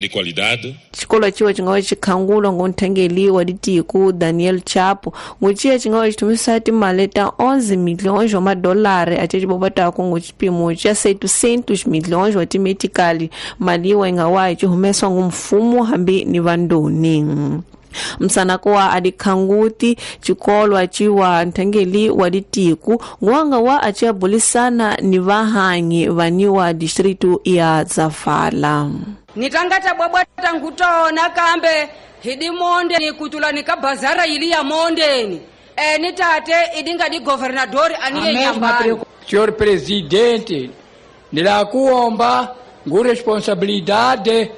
De qualidade. Xikolo ciwa ci nga va xikhangulwa ngonthengeli wa tiko Daniel Chapo nguciya ci nga va xitumisa timali ta 11 milhões wa madolari ace cibobataku ngu xipimo xa 700 milhões wa timetikali mali wa yi nga wa yi ci humesiwa ngu mfumo hambi ni vandoni. Msanako wa adikhanguti xikolwa ciwa nthengeli wa litiku nguwanga wa aciyabulisana ni vahanyi vaniwa distritu ya Zavala. Nitangata bwabwata ngutona kambe hidi monde ni kutula ni kabazara ili ya mondeni ni tate idinga di governador aniye nyambani. Senhor presidente, nilakuomba ngu responsabilidade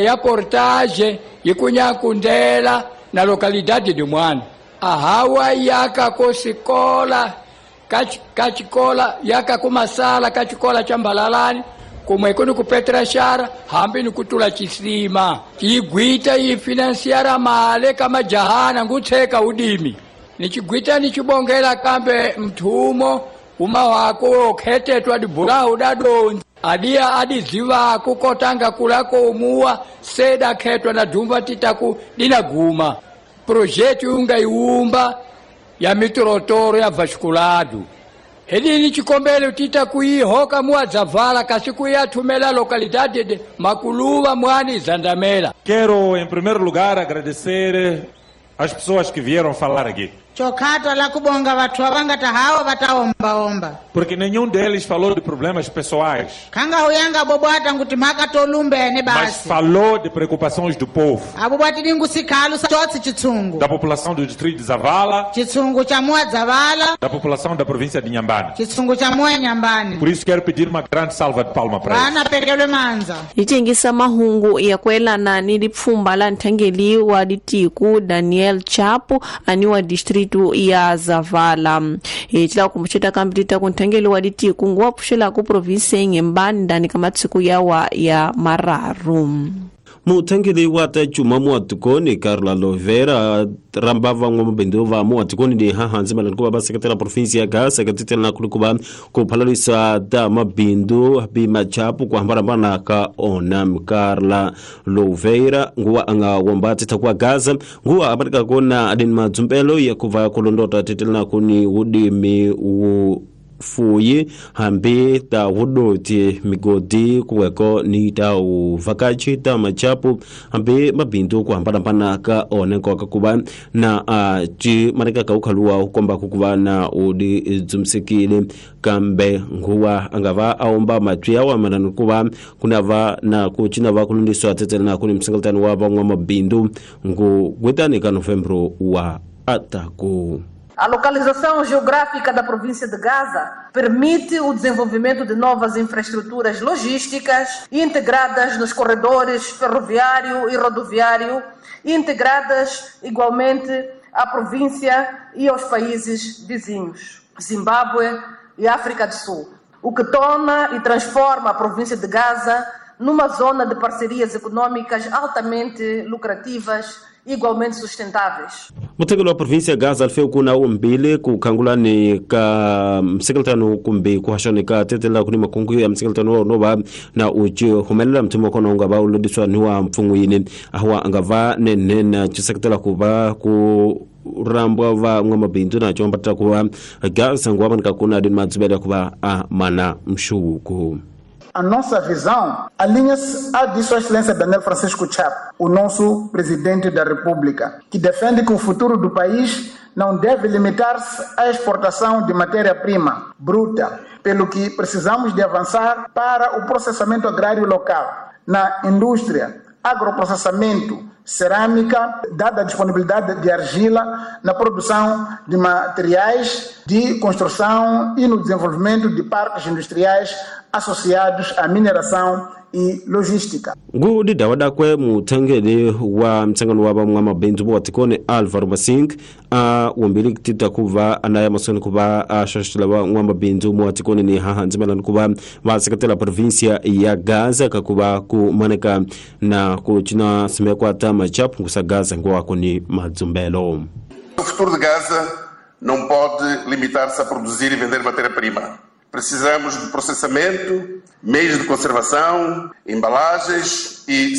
ya portage ikunyakundela na localidade de Mwana. Ahawa yaka kosikola kachikola yaka kumasala kachikola chambalalani kumwe kuni kupetra shara hambi ni kutula chisima chigwita ifinanciara male kama jahana ngutseka udimi nichigwita nichibongela kambe mthumo uma wako okhetetwa dibula udadonzi adia adiziva kukotanga kulako umuwa seda khetwa na dumba titaku dinaguma projekti ungaiumba ya mitorotoro ya vasculado helini chikombele tita kuihoka muadzavala kasi kuiathumela localidade de Maculuva Mwani Zandamela. Quero em primeiro lugar agradecer as pessoas que vieram falar aqui. Chokhatwa la kubonga vathu avangata hawo vataombaomba. Porque nenhum deles falou de problemas pessoais. Khanga huyanga bobwata nguti mhaka tolumbene basi. Mas falou de preocupações do povo. Abobwati dingu sikhalu chotsi chitsungu. Da população do distrito de Zavala. Chitsungu cha mua Zavala. Da população da província de Inhambane. Chitsungu cha mua Inhambane. Por isso quero pedir uma grande salva de palma para eles. Vana pekelwe manza. Itengisa mahungu ya kuelana ni lipfumba la nthengeli wa litiku Daniel Chapo aniwa distrito ya Zavala. Ecila kumbuxeta kambirita kunthengeli wa litiku nguwa pfuxela ku provinsi ya Inhambane ndani ka matsiku yawa ya mararu. Muthengeli wa ta cuma muatikoni Carla Lovera ramba van'wamabindzu va muatikoni ni hahansi mayelana ku va va seketela provinsi ya Gaza ka titela ku va ku phalalisa ta mabindzu bimachapu ku hambanahambana ka ona. Carla Lovera nguwa a nga womba titha ku Gaza nguwa a va kona adini madzumbelo ya ku va ku londota titela ku ni wudimi wu fuyi hambi ta wudoti migodi kuweko ni ta uvakachi ta machapu hambi mabindzu ku hambanahambana ka one nkoka ku va na ci maneka ka ukhaluwa ukomba ku va na udi dzumsikile kambe nguwa a nga va a omba matwi ya wa ku va ku na va na ku cina va ku lundiswa tsetsela na ku ni msengeletano wa van'wamabindzu ngu gwetani ka Novembro wa ataku. A localização geográfica da província de Gaza permite o desenvolvimento de novas infraestruturas logísticas integradas nos corredores ferroviário e rodoviário, integradas igualmente à província e aos países vizinhos, Zimbábue e África do Sul, o que torna e transforma a província de Gaza numa zona de parcerias econômicas altamente lucrativas igualmente sustentáveis. Muthekelo wa província Gaza alfeu kuna umbili kukhangulani ka msekeltano kumbe kuhaxani ka tetela kuni makungu ya msekeltano no va na uci humelela mthumo kona unga va ulondiswa ni wa mpfun'wini awa anga va nenena ciseketela ku va ku rambwa va n'wamabindzu na combatela ku va Gaza nguwa manika kuna dini madzubela ku va a mana mxuku. A nossa visão alinha-se à de Sua Excelência Daniel Francisco Chapo, o nosso Presidente da República, que defende que o futuro do país não deve limitar-se à exportação de matéria-prima bruta, pelo que precisamos de avançar para o processamento agrário local, na indústria, agroprocessamento, cerâmica, dada a disponibilidade de argila na produção de materiais de construção e no desenvolvimento de parques industriais associados à mineração e logística. Ngudi dawadakwe muthengeli wa mtsangano wa van'wamabindzu vo tikoni Alvaro Masink a wombili tita ku va anaya mahlweni ku va a xaxela van'wamabindzu mo tikoni ni hahansi mayelana ku va va seketela província ya Gaza ka ku va ku maneka na ku cina simekwa ta machapu ngusa Gaza nguwako ni madzumbelo. O futuro de Gaza não pode limitar-se a produzir e vender matéria-prima. Precisamos de processamento, meios de conservação, embalagens e